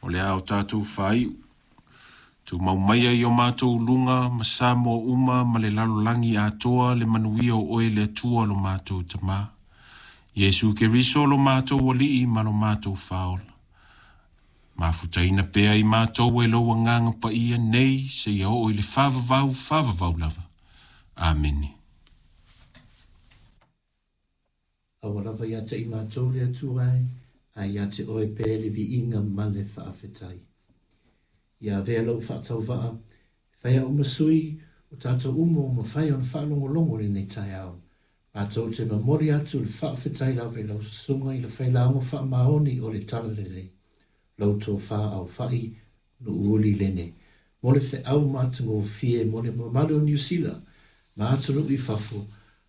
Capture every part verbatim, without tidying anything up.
O le a o tātou whaiu. Tu mau maia i o mātou lunga, ma Samoa uma, ma le lalolagi atoa le manuia o oe le Atua lo mātou Tamā. Iesu Keriso lo mātou Alii ma lo mātou Faaola. Mafutaina pea i mātou e lou Agaga Paia nei, seia oo i le faavavau, faavavau lava. Amene. Aua lava ia te i mātou le Atua e, ae ia te oe pea le viiga ma le faafetai. Ia avea lou faatauvaa, e fai au ma sui o tātou uma ua mafai ona faalogologo i lenei taeao. Matou te momoli atu le faafetai lava i lau susuga i le failauga faamaoni o le Talalelei, lau tofa aofai Nuuuli Lene, mo le feau matagofie mo le mamalu o Niu Sila ma atunuu i fafo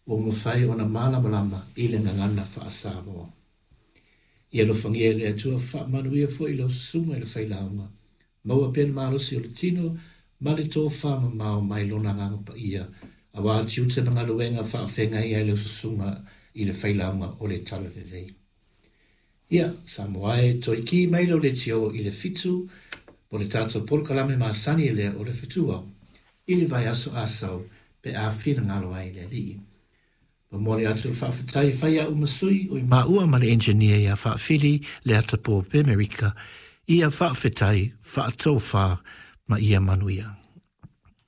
ua mafai ona malamalama i le gagana faa-Samoa. Ia alofagia e le Atua faamanuia foi lau susuga i le failauga, maua pea le malosi o le tino ma le tofa mamao mai lona Agaga Paia, aua tiute ma galuega faafeagai ai lau susuga i le failauga o le Talalelei. Ia, Samoa e, toe ki mai lau leitio i le fitu mo le tatou polokalame masani lea o le Fetuao i le vaiaso Asau pe a finagalo ai le Alii. Momoli atu le faafetai e fai au ma sui o i maua ma le engineer ia Faafili Leatapo Pemerika, ia faafetai, faatofa ma ia manuia.